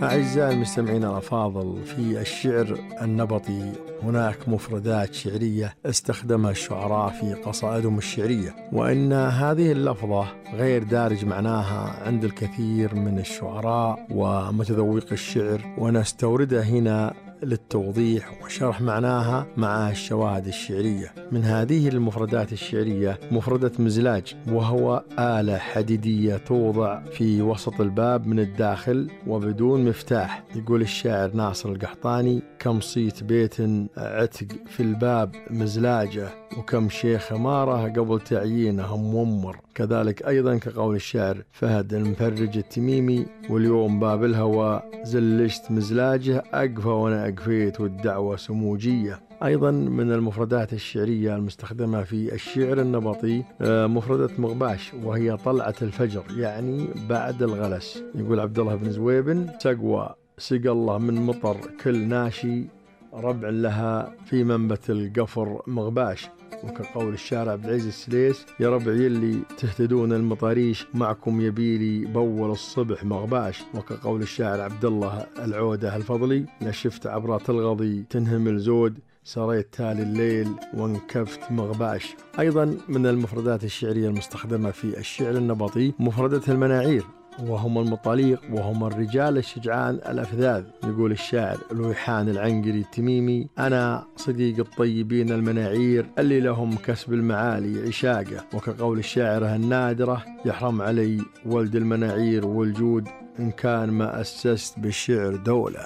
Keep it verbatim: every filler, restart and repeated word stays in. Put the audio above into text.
أعزائي المستمعين الأفاضل، في الشعر النبطي هناك مفردات شعرية استخدمها الشعراء في قصائدهم الشعرية، وإن هذه اللفظة غير دارج معناها عند الكثير من الشعراء ومتذوق الشعر، ونستوردها هنا للتوضيح وشرح معناها مع الشواهد الشعرية. من هذه المفردات الشعرية مفردة مزلاج، وهو آلة حديدية توضع في وسط الباب من الداخل وبدون مفتاح. يقول الشاعر ناصر القحطاني: كم صيت بيت عتق في الباب مزلاجة، وكم شيخ أمارة قبل تعيينه مومر. كذلك أيضا كقول الشاعر فهد المفرج التميمي: واليوم باب الهوى زلشت مزلاجه، أقفى وأنا أقفيت والدعوة سموجية. أيضا من المفردات الشعرية المستخدمة في الشعر النبطي مفردة مغباش، وهي طلعة الفجر، يعني بعد الغلس. يقول عبد الله بن زويبن: سقوى سقى الله من مطر كل ناشي، ربع لها في منبت القفر مغباش. وكقول الشاعر عبد العزيز السليس: يا ربع يلي تهتدون المطاريش، معكم يبيلي بول الصبح مغباش. وكقول الشاعر عبد الله العودة الفضلي: نشفت عبرات الغضي تنهمل زود، سريت تالي الليل وانكفت مغباش. أيضا من المفردات الشعرية المستخدمة في الشعر النبطي مفردة المناعير، وهم المطاليق، وهم الرجال الشجعان الأفذاذ. يقول الشاعر الويحان العنقري التميمي: أنا صديق الطيبين المناعير اللي لهم كسب المعالي عشاقة. وكقول الشاعرة النادرة: يحرم علي ولد المناعير والجود، إن كان ما أسست بالشعر دولة.